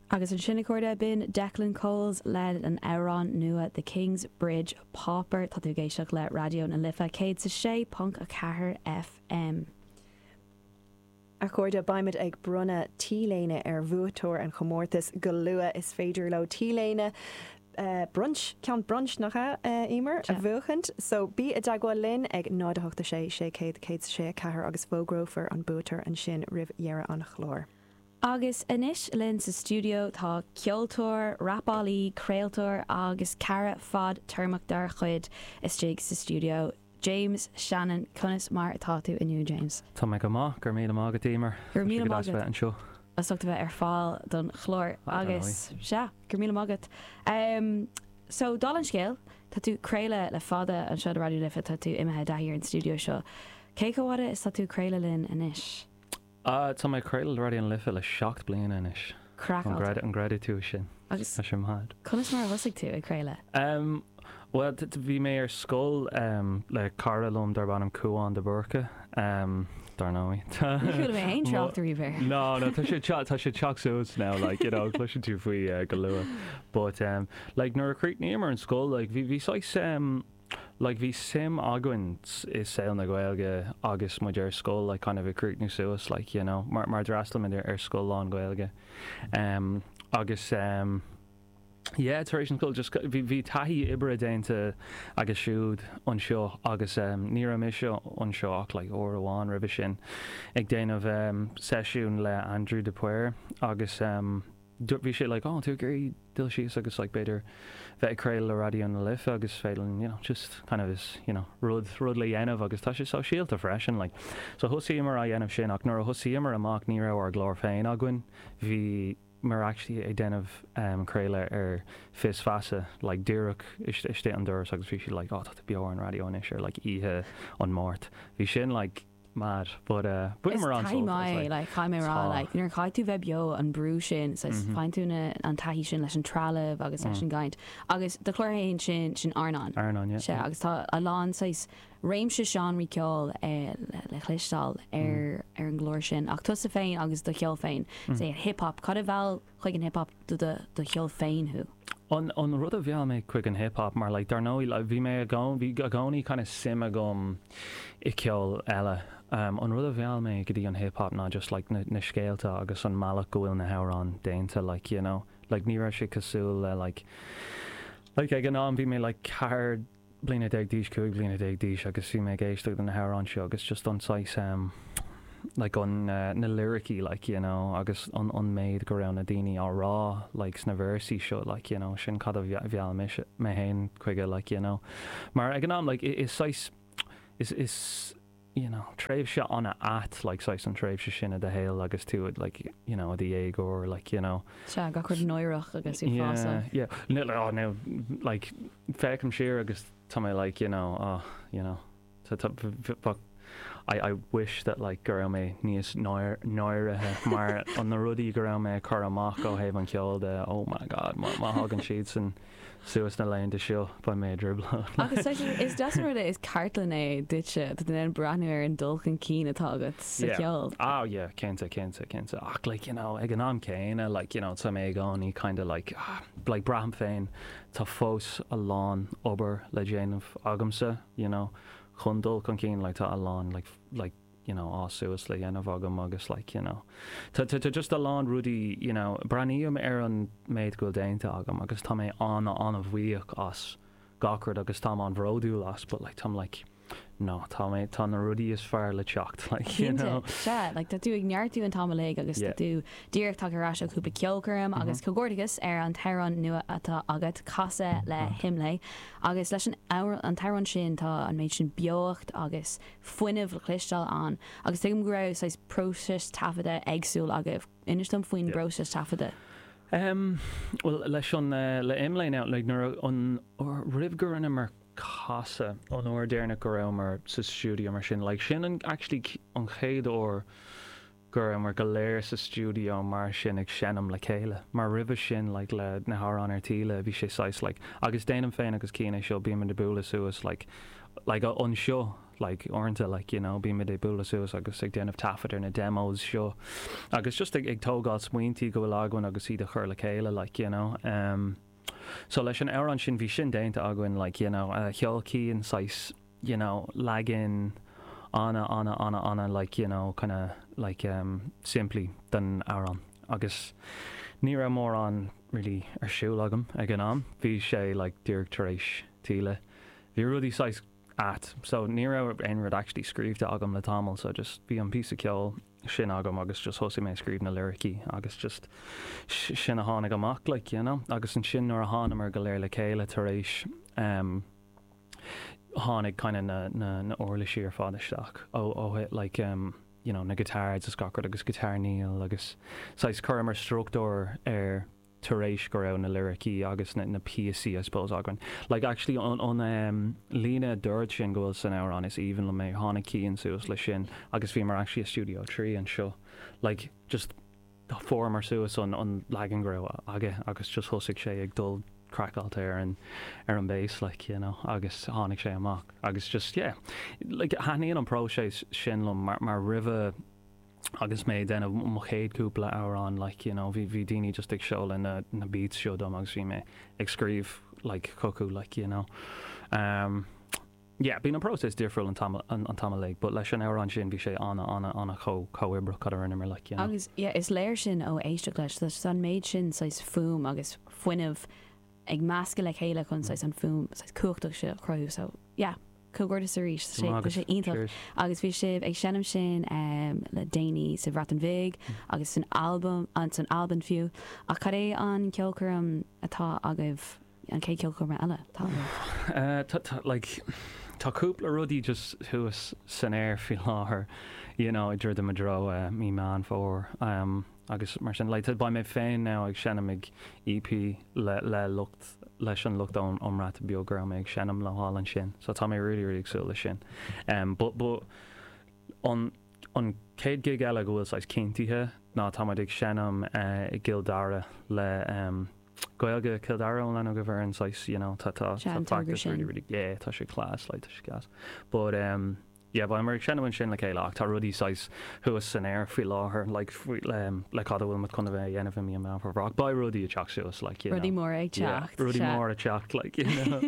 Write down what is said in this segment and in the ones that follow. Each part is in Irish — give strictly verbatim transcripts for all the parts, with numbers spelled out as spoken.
Agus ansin, a chairde, b'in Declan Coles le an amhrán nua The King's Bridge Pauper. Tá tú ag éisteacht le Raidió na Life céad sa sé ponc a ceathair F M. A chairde, beimid ag bronnadh T-léine ar bhuaiteoir an chomórtais go luath. Is féidir leo T-léine Uh, brunch, ceann brunch nach ea, uh, Emer, a bhuachaint, so bí i dteagmháil linn ag náid a hocht sé sé céad céad sé ceathair agus fógrófar an buaiteoir ansin roimh dheireadh an chláir. Agus anois linn sa stiúideo tá ceoltóir, rapálaí, craoltóir agus cara fadtéarmach dár chuid istigh sa stiúideo. James Shannon. Conas mar atá tú inniu, James? Tá mé go maith, gur mí mágad Emer. Gur míle maith agat. Anseo. As ucht a bheith ar fáil don chlár agus sea, gur míle maith agat. Um, so dála an scéil, tá tú ag craoladh le fada anseo ar Raidió Life, tá tú imithe dathí ar an stiúideo seo. Cé chomh fada is tá tú ag craoladh linn anois? Uh, tá mé ag craoladh Raidió na Life le seacht bliana anois. Craiceáilte. An gcreideann tú sin? Agus Tá sé mad. conas mar a thosaigh tú ag craoladh? Um, well, bhí mé ar scoil um, le cara liom darb ainm Cuán de Burca, um, dar ndóigh. Ní mé aon trácht riamh. No, no, tá sé tá sé teacht suas now, like you know cloiseann tú faoi uh, go luath. But um, like nuair a chríochnaíomar an scoil, like bhí bhí saghas um, like bhí suim againn i saol na Gaeilge agus muid ar scoil, like kind of ag críochnú suas, like you know mar mar d'fhreastail muid ar, ar scoil lán-Ghaeilge. Um, agus um, yeah, tar éis an scoil just bhí bhí taithí oibre déanta agus siúd anseo agus um, ní raibh mise anseo ach like uair amháin roimhe sin ag déanamh um, seisiún le Andrew de Paor agus um, bhí sé like, "Oh, tú ag iarraidh dul síos agus like b'fhéidir bheith ag craoladh le Raidió na Life agus féidir you know just kind of is you know rud rud le dhéanamh agus tá sé sóisialta freisin." Like, so thosaíomar á dhéanamh sin, ach nuair a thosaíomar amach ní raibh ár gclár féin againn. Bhí mar actually ag déanamh um, craoladh ar Fios Feasa, like díreach istigh an doras, agus bhí sí like, "Oh, tá beo ar an raidió anois ar like oíche an Mháirt." Bhí sin like mad, but uh mar an like caithfidh mé rá, like nuair chaithfidh tú bheith beo, an brú sin, faigheann tú an taithí sin leis an trealamh agus leis an gcaint agus do chlár féin sin sin Airneán. Airneán. Se agus tá a lán saghas réimse seánraí ceoil eh, le chloisteáil ar ar an gclár sin, ach tusa féin agus do cheol féin sé hip-hop. Cad a mheall chuig an hip-hop do do cheol féin thú? An an rud a mheall mé chuig an hip-hop mar like dar ndóigh, like, bhí mé go bhí i gcónaí kind of suim agam i ceol eile. Um, an rud a mheall mé go dtí an hip-hop ná just like na, na scéalta agus an mbealach go bhfuil na hamhráin déanta, like you know like ní raibh sé cosúil le like like ag an am bhí mé like ceathair bliana déag d'aois, cúig bliana déag d'aois, agus bhí mé ag éisteacht na hamhráin seo agus just an saghas um, like an uh, na lyricí, like you know agus an an méid go raibh na daoine á rá like sna véarsaí seo, like you know sin cad a mheall mé mé féin chuige, like you know mar ag an am like is saghas is is you know tréimhse an-ait like saghas an tréimhse sin i do shaol agus tú like you know i do dhéagóir, like you know Se gach rud náireach agus í yeah yeah no, oh, no, like féachaim siar agus tá mé like you know oh you know but I, I wish that like go raibh mé níos náirithe, mar an na rudaí go raibh mé chur amach ó thaobh an cheoil de, oh my God, má thagann siad san suas na laethanta seo beidh mé i dtrioblóid. Agus is deas an rud é, is cartlann é duitse, tá an breathnú ar an dul chun cinn atá agat sa cheol. Oh yeah, cinnte, cinnte, cinnte, ach like you know ag an am céanna, like you know tá mé i gcónaí kind of like ah, like braithim féin tá fós a lán obair le déanamh agamsa you know chun dul chun cinn. Like tá a lán like like you know á suas le dhéanamh agam agus like you know tá tá tá just a lán rudaí you know breathnaím ar an méid go bhfuil déanta agam agus tá mé an an-bhuíoch as gach rud agus tá an-bhródúil as, but like tá like no, tá mé tá na rudaí is fearr le teacht, like you know Se like tá tú ag neartú an t-am uilig agus Yeah. tá tú díreach tagtha ar ais ó cúpla ceolchoirm agus comhghairdeas ar an t-amhrán nua atá agat, Casadh le hImlé, agus leis an amhrán- an t-amhrán sin tá an méid sin beocht agus fuinneamh le cloisteáil ann agus tuigim go raibh saghas próiseas taifeadta éagsúil agaibh. Inis dom faoin Yeah. bpróiseas taifeadta. Um, well leis an uh, le Imlé now, like nuair an roimh go rinneamar Casadh, an uair deireanach go rabhamar sa studio mar sin, like sin an actually an chéad uair go go rabhamar go léir sa stiúideo mar sin ag seinm le chéile. Mar roimhe sin like, le na hamhráin ar Tíle bhí sé saghas like, agus déanaim féin agus Cian é seo bímid ag bualadh suas like, like anseo like uaireanta like you know bímid ag bualadh suas agus ag déanamh taifead ar na demos seo agus just ag, ag tógáil smaointí go bhfuil againn agus iad a chur le chéile like you know um, so leis an amhrán sin bhí sin déanta againn like you know uh, cheol Cian saghas you know leagan ana ana ana ana like you know kind of like um, simplí den amhrán agus ní raibh mórán really ar siúl agam ag an am bhí sé like díreach tar éis Tíle bhí rudaí saghas at so ní raibh aon rud actually scríofa agam le tamall so just bhí an píosa ceoil sin agam agus just thosaigh mé scríobh na lyricí agus just sin a tháinig amach like you know agus ansin nuair a thángamar go léir le chéile tar éis um, tháinig kind of na, na, na uirlisí ar fad isteach ó ó like um, you know, na guitars is gach rud agus guitar Neil agus saghas chuireamar struchtúr ar tar éis go raibh na lyricí agus na, na píosaí I suppose againn. Like actually an, an um, líne dord sin go bhfuil san amhrán is aoibhinn liom é tháinig Cian suas le sin agus bhíomar actually i studio trí anseo. Like just fuaireamar suas an, an leagan go raibh aige agus just thosaigh sé ag dul craiceáilte ar an ar an bass like you know agus tháinig sé amach agus just yeah like thaitníonn an próiseas sin liom mar, mar roimhe agus mé déanamh mo chéad cúpla amhrán like you know bhí bhí daoine just ag seoladh na na beats seo dom agus bhí mé ag scríobh like chucu like you know um yeah bíonn an próiseas difriúil an t-am an, an t-am uilig but leis an amhrán sin bhí sé ana ana ana chomh comhoibreach cad a rinneamar like you know Agus yeah, is léir sin ó éisteacht leis tá an méid sin saghas fuaim agus fuinneamh ag meascadh le chéile chun saghas an fuaim saghas cumhachtach seo a chruthú so yeah comhghairdeas arís sé tá sé iontach agus bhí sibh ag seinm sin um, le déanaí sa Bhreatain Bheag agus san album an san Albain fiú ach cad é an ceolchoirm atá agaibh an chéad ceolchoirm eile atá agaibh? Uh, tá, tá, like, tá cúpla rudaí just thuas san aer faoi láthair you know, ag druidim i dtreo uh, mí Meán Fómhair um, agus mar sin like, beidh mé féin now ag seinm ag EP le, le lucht leis an lucht ón ón mBreatain Bheag go mé ag seinm le hálan sin so tá mé really really ag súil leis sin um, but, but an an chéad gig eile go bhfuil saghas cinntithe ná táimid ag seinm uh, i gCill Dara le um, Gaeilge Cill Dara ón lena go bhar an saghas you know tá tá Sea, an tá togra practice really sin. really yeah tá sé class like tá sé gas but um yeah beimid ag seinm ansin le chéile ach tá rudaí saghas thuas san aer faoi láthair like faoi um, le cad a bhfuil muid chun a bheith a dhéanamh i mí Meán Fómhair beidh rudaí ag teacht suas like you Rudaí know. mór ag Yeah, teacht. rudaí sea. mór ag teacht like you know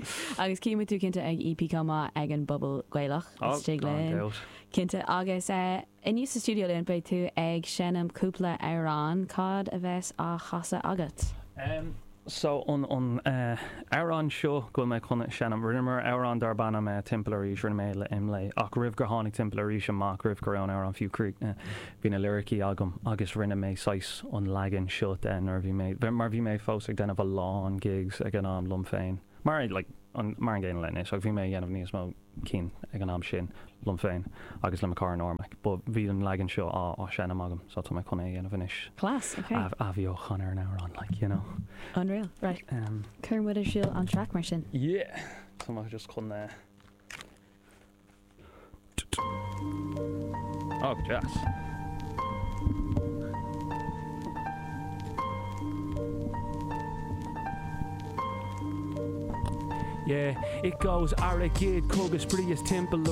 Agus címid tú cinnte ag EP chomh maith ag an bpuball Gaelach Oh, istigh gan linn. doubt. Cinnte agus uh, inniu sa studio linn beidh tú ag seinm cúpla amhrán cad a bheas á chasadh agat. Um, so an an uh, amhrán seo go bhfuil mé chun seinm rinneamar amhrán darb ainm uh, Timpeall Arís rinne mé le Imlé ach roimh gur tháinig Timpeall Arís amach roimh go raibh an amhrán fiú críochnaithe bhí na lyricí agam agus rinne mé saghas an leagan seo den nuair bhí mé mar bhí mé fós ag déanamh a lán gigs ag an am liom féin mar like an mar an gcéanna leis ach bhí mé ag déanamh níos mó cinn ag an am sin liom féin agus le mo chara Normac but bhí an leagan seo á á seinm agam so tá mé chun é a dhéanamh anois Class, okay. athbheochan ar an amhrán like you know Unreal. Right. um, Cuir muid ar siúl an track mar sin. Yeah. Tá mé just chun uh... Oh, jazz. Yeah, it goes airgead cogadh spraoi is timpeall